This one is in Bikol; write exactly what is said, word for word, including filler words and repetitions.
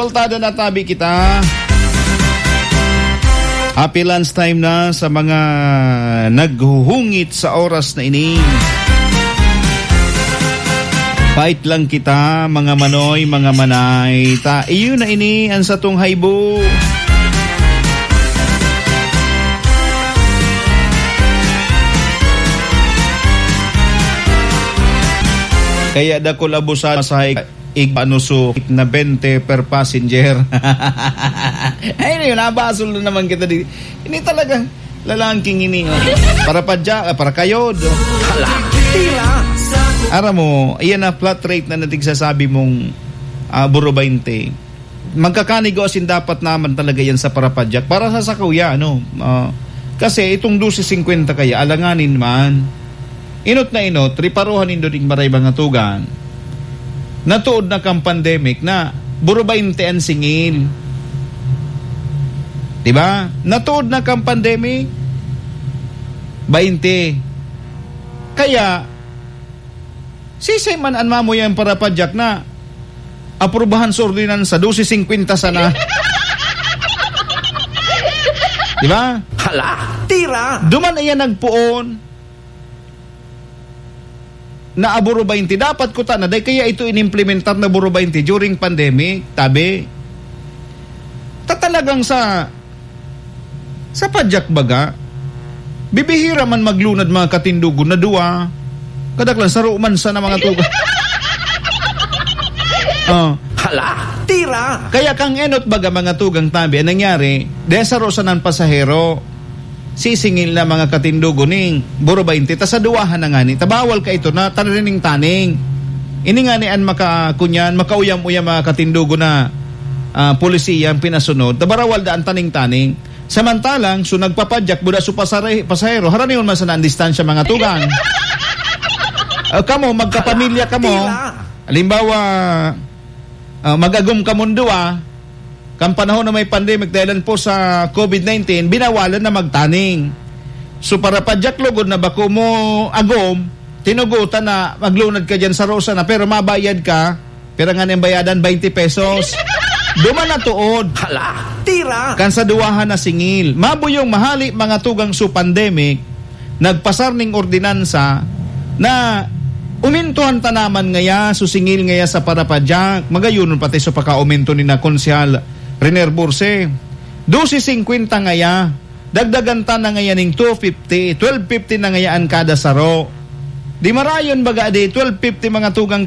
Kaltada na tabi kita. Happy lunch time na sa mga naghuhungit sa oras na ini. Pait lang kita, mga manoy, mga manay. Ta, iyo na ini ang satong haibo. Kaya dakul abusan sa ig-, ano, so, na bente per passenger. Ay, yun, nabasol na naman kita di. Ini talaga, lalangking ini, oh. Para pa dya, ah, para kayo, do. Hala, tira! Aram mo, iyan na flat rate na natigsasabi mong, ah, buro baynte. Magkakanigo asin dapat naman talaga yan sa parapadyak. Para sa sakuya, ano, ah, kasi itong dose singkwenta kaya, alanganin man. Inot na inot, riparohan nindo ding maray mga tugang. Natuod na kang pandemic na buro baynte an singil. Di ba? Natuod na kang pandemic, baynte. Kaya, sisay man an mamuyang parapadyak na aprubahan sa ordinansa, dose singkwenta sana. Di ba? Hala, tira! Duman iya nagpoon na aburo baynte. Dapat kuta na, dahil kaya ito inimplementar na buro baynte during pandemic, tabi. Ta talagang sa, sa padyak baga, bibihira man maglunad mga katindogon na duwa, kadaklan, saro man sana mga tugang. Oh. Hala, tira! Kaya kang enot baga mga tugang tabi, ang nangyari, dahil saro sanang pasahero, sisingil na mga katindogon ning buro baynte, ta sa duwahan na ngani, ta bawal ka ito na tanining taning. Ini ngani an maka-, kunyan, makauyam-uyam mga katindogon na, ah, polisiya ang pinasunod, ta barawal da an taning-taning. Samantalang, so nagpapadyak, buda so pasare-, pasahero, haranion man sana an distansya, mga tugang. Ah, kamo, magkapamilya kamo. Tira. Halimbawa, ah, mag-agom kamong duwa, kan panahon na may pandemic, dahilan po sa covid nineteen, binawalan na magtaning. So, parapadyak lugod na bako mo agom, tinugutan na maglunad ka dyan sa rosa na, pero mabayad ka, pira nga niyang bayadan, twenty pesos. Duman na tuod. Hala, tira! Kan sa duwahan na singil. Mabuyong mahali, mga tugang, so pandemic, nagpasar ning ordinansa na umintuhan ta naman ngaya, so singil ngaya sa parapadyak, magayon pati so pakaumento ni na Konsehal Riner Burse. Dose singkwenta ngaya, dagdagan ta na ngaya ning two fifty, twelve fifty na ngaya an kada saro. Di marayon baga di, twelve fifty mga tugang